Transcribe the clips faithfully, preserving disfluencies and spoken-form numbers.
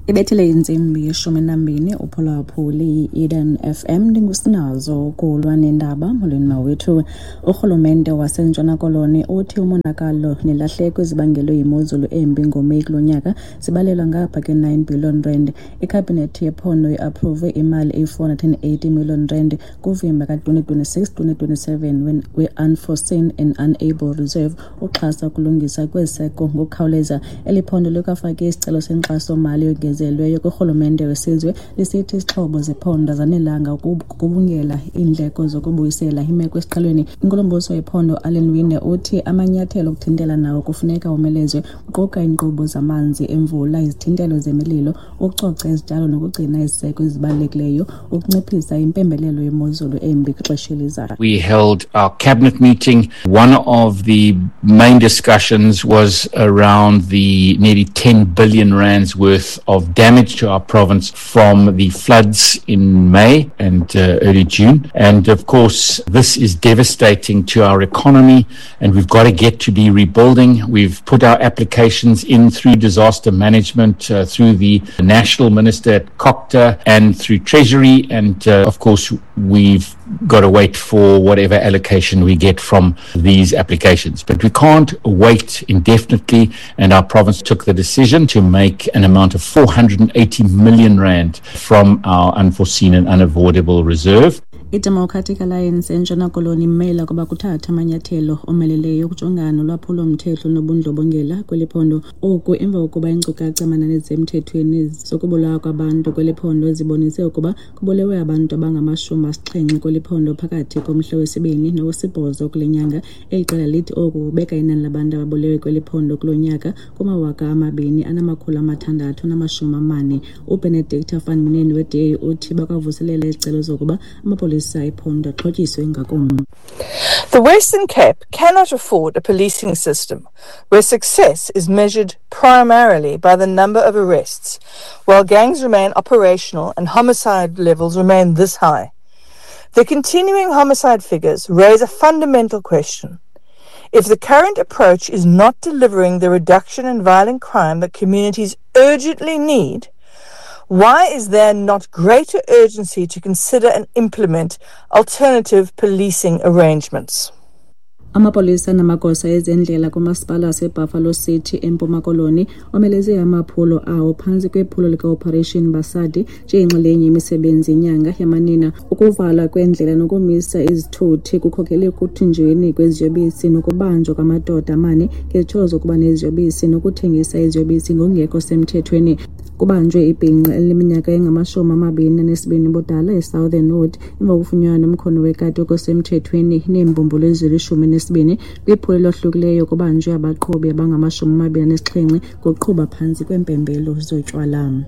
Ibethile intsimbi yeshumi nambini uphulaphuli i-Eden F M ndingusinazo ukulwa nendaba. Molweni mawethu. Urhulumente waseNtshona Koloni uthi umonakalo nelahleko ezibangelwe yimozulu embi ngoMeyi kulo nyaka zibalelwa ngapha ke-nine billion rand. Ikhabhinethi yephondo iapruve imali eyi-four hundred and eighty million rand kuvimba ka-twenty twenty-six twenty twenty-seven we-Unforeseen and Unable Reserve uxhasa ukulungisa kweziseko ngokukhawuleza. Eli phondo likwafake isicelo senkxaso-mali yongezelelweyo kurhulumente wesizwe lisithi izixhobo zephondo azanelanga ukugubungela iindleko zokubuyisela imeko esiqhelweni. Inkulumbuso yephondo Alan Winde uthi amanyathelo okuthintela nawo kufuneka omelezwe, kuquka iinkqubo zamanzi emvula, izithintelo zemililo, ukucoca izityalo nokugcina iziseko ezibalulekileyo, ukunciphisa impembelelo yemozulu embi kwixesha elizayo. We held our cabinet meeting. One of the main discussions was around the nearly ten billion rands worth of damage to our province from the floods in May and uh, early June. And of course, this is devastating to our economy, and we've got to get to be rebuilding. We've put our applications in through disaster management, uh, through the National Minister at COGTA and through Treasury. And uh, of course, we've got to wait for whatever allocation we get from these applications. But we can't wait indefinitely, and our province took the decision to make an amount of four hundred and eighty million rand from our unforeseen and unavoidable reserve. I-Democratic Alliance eNtshona Koloni imela ukuba kuthathwe amanyathelo omeleleyo ukujongana nolwaphulo-mthetho nobundlobongela kweli phondo. Oku emva kokuba iinkcukacha manani ezisemthethweni zokubulawa kwabantu kweli phondo zibonise ukuba kubulewe abantu abangamashumi asixhenxe kweli phondo phakathi komhla wesibini nowesibhozo kule nyanga. Eli qela lithi oku kubeka inani labantu ababulewe kweli phondo kulo nyaka kumawaka amabini anamakhulu amathandathu namashumi amane. UBenedicta van Minen we-D A uthi bakwavuselela izicelo zokuba amapolisa The Western Cape cannot afford a policing system where success is measured primarily by the number of arrests, while gangs remain operational and homicide levels remain this high. The continuing homicide figures raise a fundamental question. If the current approach is not delivering the reduction in violent crime that communities urgently need, why is there not greater urgency to consider and implement alternative policing arrangements? Amapolisa namagosa ezendlela kumasipala waseBuffalo City eMpuma Koloni omeleze amaphulo awo phantsi kwephulo lika-Operation Basadi njengenxalenye yemisebenzi yenyanga yamanina. Ukuvalwa kwendlela nokumisa izithuthi kukhokele ekuthinjweni kweziyobisi nokubanjwa kwamadoda amane ngezityholo zokuba neziyobisi nokuthengisa iziyobisi ngokungekho semthethweni. Kubanjwe ibhinqa elineminyaka engamashumi amabini anesibini ubudala eSouthern Wood emva kokufunyanwa nomkhono wekati okusemthethweni neembumbulu ezilishumi nesibini. Kwiphulo elohlukileyo kubanjwe abaqhubi abangamashumi amabini anesixhenxe ngokuqhuba phantsi kweempembelo zotywala.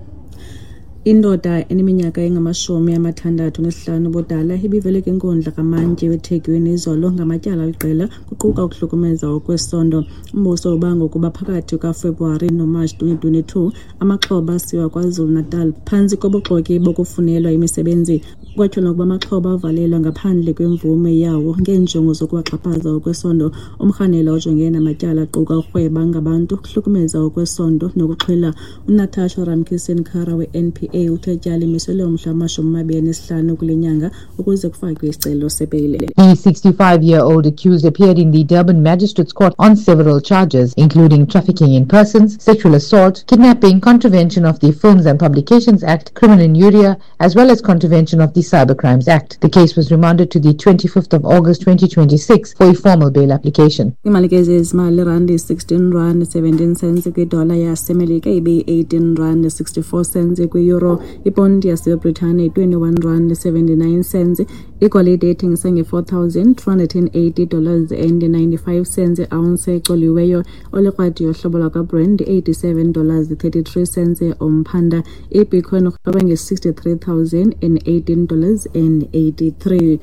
Indoda eneminyaka engamashumi amathandathu nesihlanu ubudala ibivele kwinkundla kamantyi weThekwini izolo ngamatyala aliqela kuquka ukuhlukumeza okwesondo. Umbuso ubanga ukuba phakathi kukaFebruwari noMatshi twenty twenty-two amaxhoba asiwa KwaZulu-Natal phantsi kobuxoki bokufunelwa imisebenzi. Kwatyholwa ukuba amaxhoba avalelwa ngaphandle kwemvume yawo ngeenjongo zokuwaxhaphaza okwesondo. Umrhanelwa ojongene namatyala aquka ukurhweba ngabantu, ukuhlukumeza okwesondo nokuxhwila. UNatasha Ramkisson-Kara we-N P A uthe ityala limiselwe umhla wamashumi amabini anesihlanu kule nyanga ukuze kufakwe isicelo sebheyile. The sixty-five-year-old accused appeared in the Durban Magistrates Court on several charges, including trafficking in persons, sexual assault, kidnapping, contravention of the Films and Publications Act, criminal injuria, as well as contravention of the Cybercrimes Act. The case was remanded to the twenty-fifth of August twenty twenty-six for a formal bail application. Imali ke zezimali randi sixteen rand seventeen cents kwidola yaseMelika ibe eighteen rand sixty-four cents kwi-euro. Ipondi yaseBritane twenty-one rand seventy-nine cents. Igolide ethengisa nge-four thousand two hundred and eighty dollars and ninety-five cents ounce ecoliweyo. Olikrwadi yohlobo lwakwaBrand eighty-seven dollars thirty-three cents umphanda. IBitcoin irhweba nge-sixty-three thousand and eighteen dollars and eighty-three.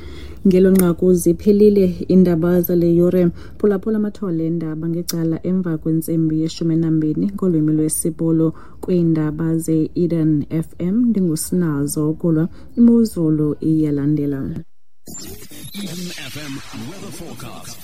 Ngelo nqaku ziphelile iindaba zale yure. Phulaphula amathole eendaba ngecala emva kwentsimbi yeshumi nambini ngolwimi lwesiBhulu kwiindaba ze-Eden F M. Ndingusinazo kulwa imozulu iyalandela. Eden F M weather forecast.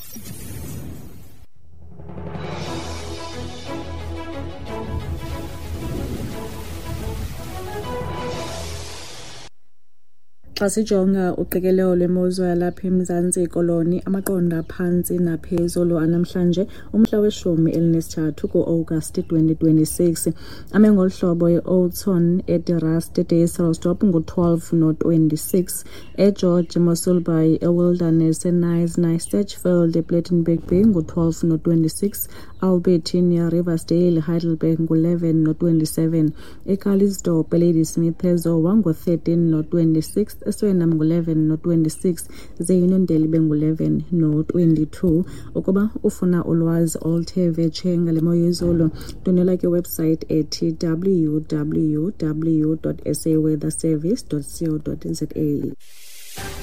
Xa sijonga uqikelelo lwemozulu yalapha eMzantsi Koloni, amaqondo aphantsi naphezulu anamhlanje umhla weshumi elinesithathu ku-Agasti twenty twenty-six ame ngolu hlobo: e-Oudtshoorn, eDe Rust, eDysselsdorp ngu-twelve no-twenty-six, eGeorge, Mossel Bay, eWilderness, eKnysna, eStitchfield, ePlettenberg Bay ngu-twelve no-twenty-six, Albertinia, Riversdale, Heidelberg ngu-eleven no-twenty-seven, eCalitzdorp, eLadysmith, eZowa ngu-thirteen no-twenty-six, eSwellnum ngu-eleven no-twenty-six, ze Uniondale ibe ngu-eleven no-twenty-two. Ukuba ufuna ulwazi oluthe vetshe ngale mo yezulu, ndwendwela kwiwebsite ethi W W W dot saweatherservice dot co dot za.